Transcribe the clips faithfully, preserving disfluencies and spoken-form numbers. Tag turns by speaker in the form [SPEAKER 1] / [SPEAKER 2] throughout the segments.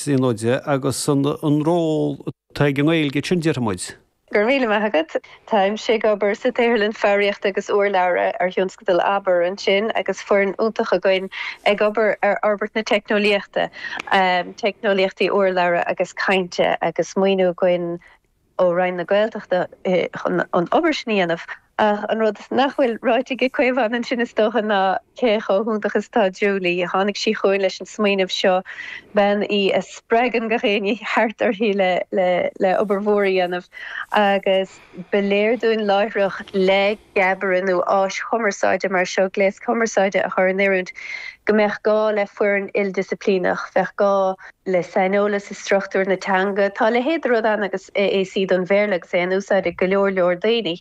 [SPEAKER 1] Tríonóide agus an ról atá ag an nGaeilge ansin, déarfaidh muid.
[SPEAKER 2] Go raibh míle maith agat. Táimse ag obair sa tSaotharlann Foghraíochta agus Urlabhra ar thionscadal Abair ansin agus foireann iontach againn ag obair ar fhorbairt na teicneolaíochta, teicneolaíochtaí urlabhra agus cainte agus maoiniú againn ó Roinn na Gaeltachta chun an obair sin a dhéanamh. Ach an rud nach bhfuil ráite ag Caomhán ansin is dócha ná cé chomh hiontach is atá Julie. Tháinig sí chugainn leis an smaoineamh seo, bean í a spreagann gach éinne thart uirthi le le le obair mhór a dhéanamh agus ba léir dúinn láithreach le geabaire nó áis chumarsáide mar seo, gléas cumarsáide a chur in oiriúint, go mbeadh gá le foireann ildisciplíneach, bheadh gá le saineolas i struchtúr na teanga. Tá a leithéid de rud ann agus A A C don Bhéarla agus é in úsáid ag go leor leor daoine,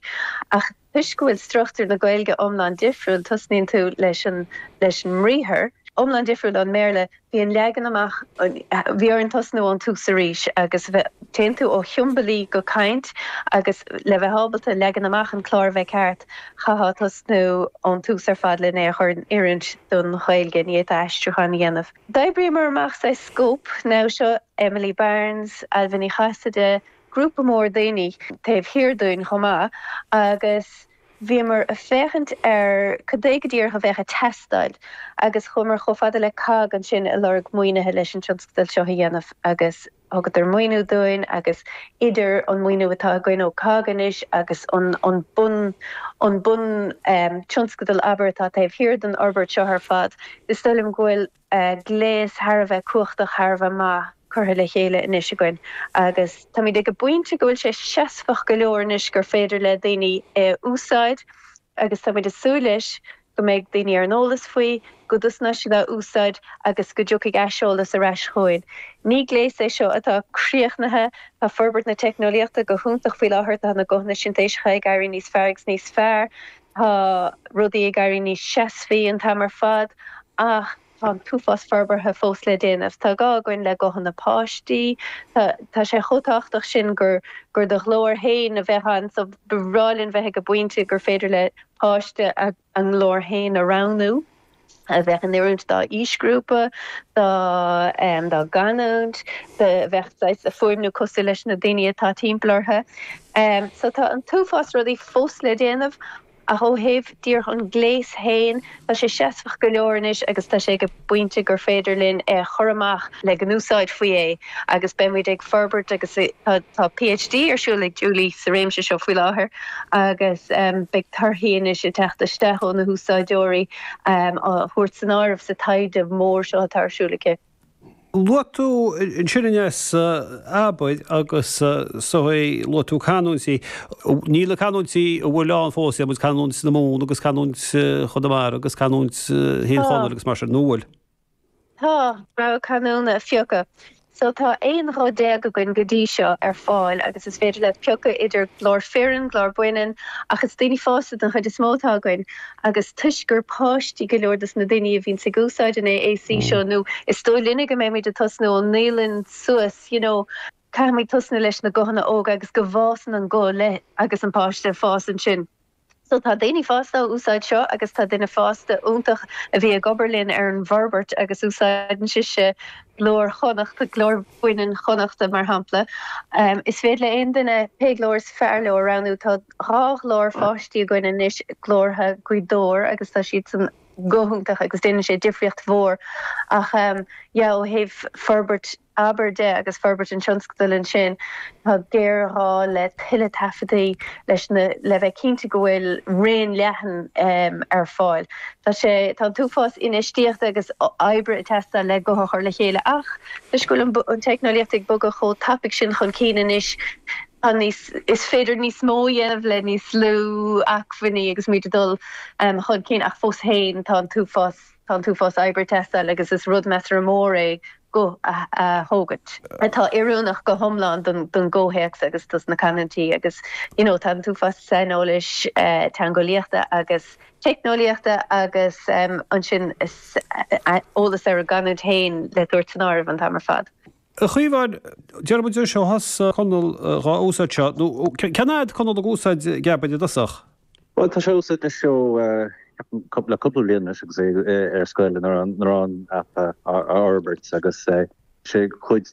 [SPEAKER 2] ach toisc go bhfuil struchtúr na Gaeilge iomlán difriúil, tosnaíonn tú leis an leis an mbriathar, iomlán difriúil ón mBéarla, bhí an leagan amach, bhí orainn tosnú ón tús arís agus téann tú ó shiombailí go caint agus le bheith ábalta leagan amach an clár a bheith ceart, chaithfeá tosnú ón tús ar fad lena é a chur in oiriúint don Ghaeilge, ní fhéadfá aistriúchán a dhéanamh. D'oibríomar amach saghas scóip now seo Emily Barnes, Ailbhe Ní Chasaide, grúpa mór daoine taobh thiar dúinn chomh maith agus bhíomar ag féachaint ar cad é go díreach a bheadh ag teastáil agus chuamar chomh fada le COGG ansin ag lorg maoinithe leis an tionscadal seo a dhéanamh agus thugadar maoiniú dúinn agus idir an maoiniú atá againn ó COGG anois agus an an bun an bun um, tionscadal Abair atá taobh thiar den fhorbairt seo ar fad, is dóigh liom go bhfuil gléas thar a bheith cumhachtach, thar a bheith maith curtha le chéile anois againn agus táimid ag an bpointe go bhfuil sé seasmhach go leor anois gur féidir le daoine é a úsáid agus táimid ag súil leis go mbeidh daoine ar an eolas faoi, go dtosnóidh siad á úsáid agus go dtiocfaidh aiseolas ar ais chugainn. Ní gléas é seo atá críochnaithe, tá forbairt na teicneolaíochta go hiontach faoi láthair, tá na guthanna sintéiseacha ag éirí níos fearr agus níos fearr, tá rudaí ag éirí níos seasmhaí an t-am ar fad ach tá an t-uafás forbartha fós le déanamh. Tá gá againn le guthanna páistí, tá tá sé chomh tábhachtach sin gur gur do ghlór féin a bheith ann, so ba bhreá linn bheith ag an bpointe gur féidir le páiste a a nglór féin a roghnú, a bheith in oiriúint dá aoisghrúpa, dá um, dá gcanúint, a bheith saghas a fuaimniú cosúil leis na daoine atá timpeall orthu. Um, so tá an t-uafás rudaí fós le déanamh, ach ó thaobh díreach an gléas féin, tá sé seasmhach go leor anois agus tá sé ag an bpointe gur féidir linn é a chur amach le go n-úsáidfí é agus beimid ag forbairt agus tá tá P H D ar siúl ag Julie sa réimse seo faoi láthair agus um, beidh torthaí anois ag teacht isteach ó na húsáideoirí um, á thabhairt san áireamh sa taighde mór seo atá ar siúl aici.
[SPEAKER 1] Luaigh tú ansin Inés Abair agus so luaigh tú canúintí, níl na canúintí a bhfuil ann fós muid canúint na Mumhan agus canúint Chonamara agus canúint Thír Chonaill agus mar sin nó bhfuil.
[SPEAKER 2] Tá rogha canúna a phiocadh. So tá aon ghuth déag againn go dtí seo ar fáil agus is féidir le piocadh idir glór fireann, glór baineann, ach is daoine fásta den chuid is mó atá againn agus toisc gur páistí go leor dos na daoine a bhíonn ag úsáid an A A C seo nó is dóigh linne go mbeimid ag tosnú ón naíolann suas, you know, caithfimid tosnú leis na guthanna óga agus go bhfásann an guth le agus an páiste fás ansin. So tá daoine fásta á úsáid seo agus tá duine fásta iontach a bhí ag obair linn ar an bhforbairt agus úsáideann sise glór Chonnachta, glór baineann Chonnachta mar shampla. Um, is féidir le aon duine pé glór is fearr leo a roghnú. Tá dhá ghlór pháistí againn anois, glórtha Ghaoth Dobhair agus tá siad san go hiontach agus déanann sé difríocht mhór ach um, yeah, ó thaobh forbairt Abair de agus forbairt an tionscadail ansin, tá géarghá le tuilleadh taifeadtaí leis na le bheith cinnte go bhfuil raon leathan um, ar fáil. Tá sé tá an t-uafás infheistíochta agus oibre ag teastáil le guth a chur le chéile ach toisc go bhfuil an, an teicneolaíocht ag bogadh chomh tapaidh sin chun cinn anois tá níos is féidir níos mó a dhéanamh le níos lú acmhainní agus muid ag dul um, chun cinn ach fós féin tá an t-uafás tá an t-uafás oibre ag teastáil agus is rud measartha mór é guth a, a thógaint. Atá oiriúnach go hiomlán don, don gcomhthéacs agus dos na canúintí agus you know, tá an t-uafás saineolais uh, teangeolaíochta agus teicneolaíochta agus um, ansin is eolas ar an gcanúint féin le tabhairt san áireamh an t-am ar fad.
[SPEAKER 1] A Chaomháin, déarfaidh muid seo thosaigh Conall dhá úsáid seo, nó cén fhad Conall ag úsáid Geabair i dtosach?
[SPEAKER 3] Well, tá sé úsáid na seo le cúpla bliain agus é ar scoil an an app a fhorbairt agus sé cuid